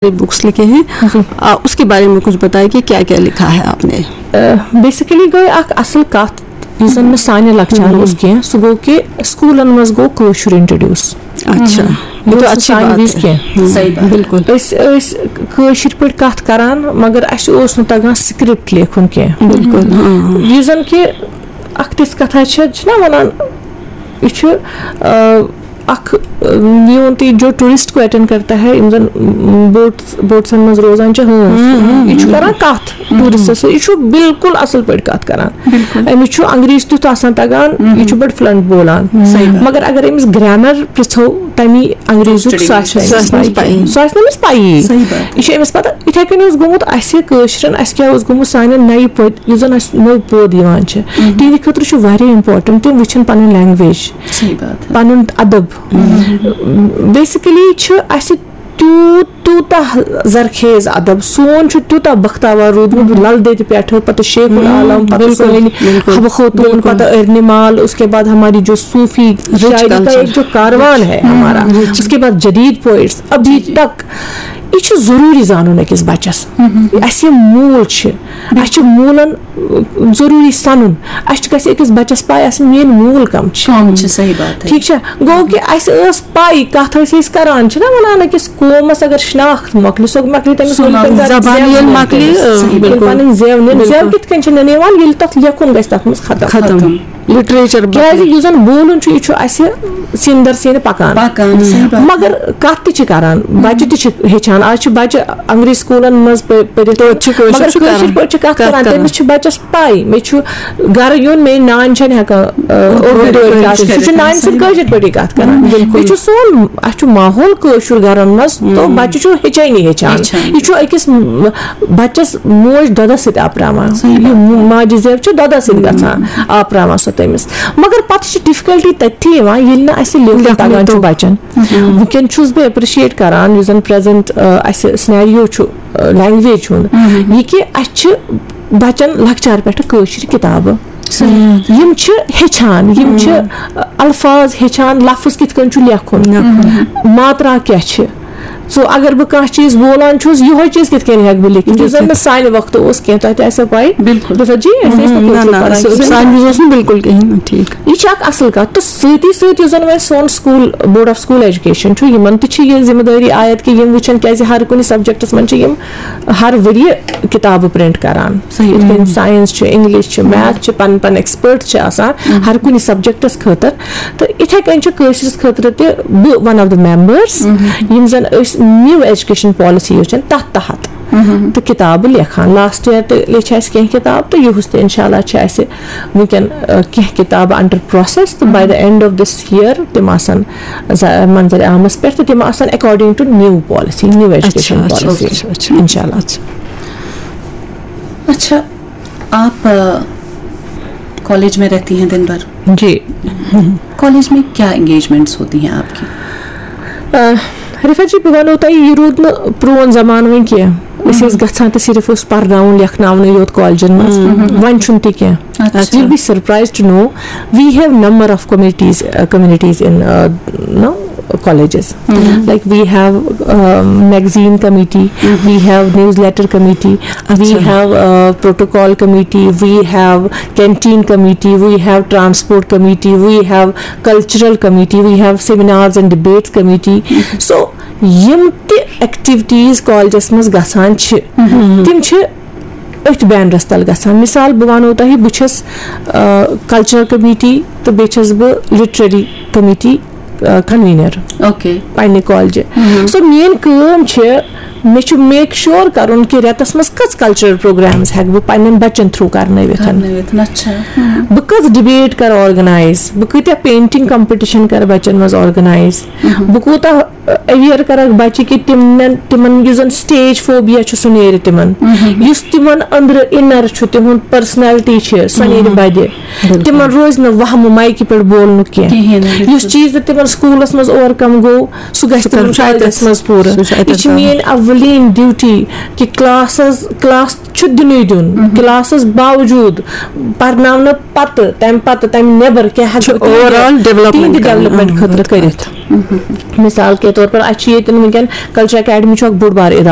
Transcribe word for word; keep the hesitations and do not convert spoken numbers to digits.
سارے بکس لکھے ہیں۔ آ، اس کے بارے میں کچھ بتائیں کہ کیا کیا لکھا ہے آپ نے؟ بیسکلی گٔے اکھ اصل کتھ، یُس زن نہٕ سانہِ لۄکچارٕ اوس کینٛہہ، سُہ گوٚو کہِ سکوٗلن منٛز گوٚو کٲشُر انٹروڈیوس۔ اچھا، یہ تو اچھی بات ہے۔ کینٛہہ۔ صحیح بات۔ بالکل۔ أسۍ ٲسۍ کٲشِر پٲٹھۍ کتھ کران، مگر اسہِ اوس نہٕ تگان سکرپٹ لیکھُن کینٛہہ۔ بالکل، ہاں۔ یُس زن کہِ اکھ تِژھ کتھا چھےٚ، چھِنہ ونان، یہِ چھُ، آ، اکھ، آ، میون تہِ جو ٹورسٹ کو اٹینڈ کرتا ہے، یِم زن، م، بوٹس، بوٹسن منٛز روزان چھِ ہٲنز، یہِ چھُ کران کتھ ٹورسٹس سۭتۍ، یہِ چھُ بالکل اصل پٲٹھۍ کتھ کران۔ أمِس چھُ انگریز تیُتھ آسان تگان، یہِ چھُ بڑٕ فلنٹ بولان۔ مگر اگر أمِس گرامر پرژھو تمی انگریزُک، سُہ آسہِ نہٕ أمِس پَیی۔ سُہ آسہِ نہٕ أمِس پَیی۔ یہِ چھُ أمِس پتہ، یِتھے کٔنۍ اوس گوٚمُت اَسہِ کٲشرٮ۪ن، اَسہِ کیٛاہ اوس گوٚمُت سانٮ۪ن نَیہِ پٔتۍ، یُس زن اَسہِ نوٚو پود یِوان چھِ، تِہنٛدِ خٲطرٕ چھُ واریاہ امپورٹنٹ تِم وٕچھن پنٕنۍ لینگویج، صحیح بات ہے۔ پنُن ادب۔ بیسکلی چھُ اَسہِ تیوٗت، تیوٗتاہ زرخیز ادب، سون چھُ تیوٗتاہ بختاور روٗدمُت، لل دٮ۪دِ پٮ۪ٹھٕ، پتہٕ شیخ العالم، پتہٕ سٲنۍ حبہٕ خوتوٗن، پتہٕ ارنہِ مال، اس کے بعد ہماری جو صوفی شاعری کا ایک جو کاروان ہے ہمارا، اس کے بعد جدید پوئٹس، ابھی تک۔ یہِ چھُ ضروٗری زانُن أکِس بچس۔ اَسہِ یِم موٗل چھِ، اَسہِ چھِ موٗلن ضروٗری سنُن۔ اَسہِ چھِ گژھِ أکِس بچس پاے آسٕنۍ میٲنۍ موٗل کم چھِ۔ کم چھِ، صحیح بات ہے۔ ٹھیٖک چھا؟ گوٚو کہِ اَسہِ ٲس پاے، کتھ ٲسۍ أسۍ کران، چھِنہ ونان، أکِس قومس اگر شناخت مۄکلہِ، سۄ مۄکلہِ تٔمِس ؤنۍ پنٕنۍ زبان ییٚلہِ مۄکلہِ، مۄکلہِ، آ، صحیح بِلکُل۔ پنٕنۍ زٮ۪و نِن۔ زٮ۪و کِتھ کٔنۍ چھِ نِنہٕ یِوان؟ ییٚلہِ تتھ لیکھُن گژھِ، تتھ منٛز ختم۔ ختم۔ لٹریچر کیازِ یُس زن بولُن چھُ، یہِ چھُ اَسہِ سیٖنہٕ در سیٖنہٕ پکان۔ پکان، صحیح بات۔ مگر کتھ تہِ چھِ کران، بچہِ تہِ چھِ ہیٚچھان۔ آز چھِ بچہِ انگریز سکوٗلن منٛز پٔ-، پٔرِتھ، توتہِ چھِ کٲشُر مگر چھُ کٲشِر کران۔ پٲٹھۍ چھِ کتھ کتھ کران، کران۔ تٔمِس چھِ بچس پاے، مےٚ چھُ گرٕ یُن، میٲنۍ نانۍ چھنہٕ ہٮ۪کان، آ، اردو اردو پٲٹھۍ پٲٹھۍ کتھ، سُہ چھُ کتھ نانہِ کران۔ سۭتۍ کٲشِر پٲٹھی کتھ کران۔ بِلکُل۔ یہِ چھُ سون، اسہِ چھُ ماحول کٲشُر گرن منٛز، تو بچہِ چھُ ہیٚچھٲنی ہیٚچھان۔ ہیٚچھان۔ یہِ چھُ أکِس م-، بچس موج دۄدس سۭتۍ آپراوان۔ صحیح یہِ بات۔ مو-، ماجہِ زٮ۪و چھِ دۄدس سۭتۍ گژھان، آپراوان سۄ تٔمِس۔ مگر پتہٕ چھِ ڈفکلٹی تٔتھی یِوان، ییٚلہِ نہٕ اسہِ لیکھُن لیکھُن تگان چھُ توٚگ۔ بچن۔ وٕنکیٚن چھُس بہٕ اپرشیٹ کران، یُس زن پریزنٹ، آ، اسہِ سینیریو چھُ، آ، لینگویج ہُنٛد، یہِ کہِ اسہِ چھِ بچن لۄکچار پٮ۪ٹھٕ کٲشِر کِتابہٕ۔ یِم چھِ ہیٚچھان، یِم چھِ الفاظ ہیٚچھان، لفظ کِتھ کٔنۍ چھُ لیکھُن، ماترا کیٛاہ چھِ۔ سو اگر بہٕ کانٛہہ چیٖز بولان چھُس، یِہوے چیٖز کِتھ کٔنۍ ہٮ۪کہٕ بہٕ لیکھِتھ، یُس زن نہٕ سانہِ وقتہٕ اوس کینٛہہ، تۄہہِ تہِ آسیو پاے۔ بِلکُل۔ دَپان، جی، أسۍ ٲسۍ نہٕ نہ، کٲشُر نہ، پَران سُہ، کینٛہہ۔ سانہِ وِزِ اوس نہٕ بِلکُل کِہیٖنۍ نہٕ، ٹھیٖک۔ یہِ چھِ اکھ اصل کتھ۔ تہٕ سۭتی سۭتۍ یُس زن وۄنۍ سون school, board of school education چھُ، یِمن تہِ چھِ یہِ ذمہٕ دٲری عاید کہِ یِم وٕچھن، کیازِ ہر کُنہِ سبجیکٹس منٛز چھِ یِم ہر ؤریہِ کِتابہٕ پرنٹ کران۔ صحیح۔ یِتھ کٔنۍ ساینس چھُ، انگلش چھُ، میتھ چھُ، پن پن ایکسپٲرٹ چھِ آسان ہر کُنہِ سبجیکٹس خٲطرٕ۔ تہٕ اِتھے کٔنۍ چھِ کٲشرِس خٲطرٕ تہِ بہٕ one of the members، یِم زن أسۍ نیو ایجوکیشن پالیسی یۄس چھِ تتھ تحت تہٕ کِتابہٕ لیکھان۔ لاسٹ ییر تہِ لیچھِ اسہِ کینٛہہ کِتاب تہٕ یُہُس تہِ انشاء اللہ چھِ اسہِ وٕنکیٚن، آ، کینٛہہ کِتابہٕ under process، تہٕ by the end of this year تِم آسن ز-، منظر عامس پٮ۪ٹھ تہٕ تِم آسن according to new policy، new education policy۔ اچھا، اچھا۔ انشاء اللہ۔ اچھا، آپ کالج میں رہتی ہیں دن بھر؟ جی۔ کالج میں کیا انگیجمنٹس ہوتی ہیں آپ کی؟ آ، رفعت جی، بہٕ وَنو تۄہہِ، یہِ روٗد نہٕ پرٛون زمانہٕ وۄنۍ کینٛہہ۔ أسۍ ٲسۍ گژھان تہٕ صرف اوس پرناوُن، لیکھناونُے یوت کالجن منٛز۔ وۄنۍ چھُنہٕ تہِ کینٛہہ۔ You'll be surprised to know we have number of committees, uh, communities in, uh, no, colleges. Like we have, um, magazine committee, we have newsletter committee, we have, uh, protocol committee, we have canteen committee, we have transport committee, we have cultural committee, we have seminars and debates committee. So یِم تہِ activities کالجس منٛز گژھان چھِ، تِم چھِ أتھۍ banners تل گژھان۔ مثال، بہٕ وَنو تۄہہِ، بہٕ چھَس، آ، کلچرل کمیٹی تہٕ بیٚیہِ چھَس بہٕ لٹریری کمیٹی، آ، کنوینر اوکے۔ پننہِ کالجہِ۔ سو میٲنۍ کٲم چھِ، مےٚ چھُ میک شور کرُن کہِ رٮ۪تس منٛز کٔژ کلچرل پروگرامز ہٮ۪کہٕ بہٕ پننٮ۪ن بچن تھروٗ کرنٲوِتھ۔ کرنٲوِتھ، اچھا۔ بہٕ کٔژ ڈبیٹ کرٕ آرگنایز، بہٕ کۭتیاہ پینٹنگ کمپٹیشن کرٕ بچن منٛز آرگنایز، بہٕ کوٗتاہ اویئر کرکھ بچہِ کہِ تِمن، تِمن یُس زن سٹیج فوبیا چھُ، سُہ نیرِ تِمن۔ یُس تِمن أنٛدرٕ انر چھُ، تِہُنٛد پرسنلٹی چھِ، سۄ نیرِ بدِ۔ تِمن روزِ نہٕ وہمہٕ مایکہِ پٮ۪ٹھ بولنُک کینٛہہ۔ کِہیٖنۍ نہٕ، بِلکُل۔ یُس چیٖز نہٕ تِمن سکوٗلس منٛز اوور کم گوٚو، سُہ گژھِ سُہ تِمن کَرُن شاید کالجس منٛز پوٗرٕ۔ سُہ چھُ اَتٮ۪تھ یہِ چھِ تام۔ میٲنۍ اولین ڈیوٹی کہِ کلاسس، کلاس چھُ دِنُے دیُن۔ کلاسس باوجوٗد پرناونہٕ پتہٕ، تمہِ پتہٕ، تمہِ نٮ۪بر کیٛاہ ہٮ۪کہٕ چھُ بہٕ تِہنٛدِ، overall development تِہنٛدِ کران۔ ڈیولپمنٹ خٲطرٕ کٔرِتھ۔ مثال کے طور پر، اَسہِ چھِ ییٚتٮ۪ن وٕنکیٚن کلچرل اکیڈمی چھُ اکھ بوٚڑ بار ادارٕ۔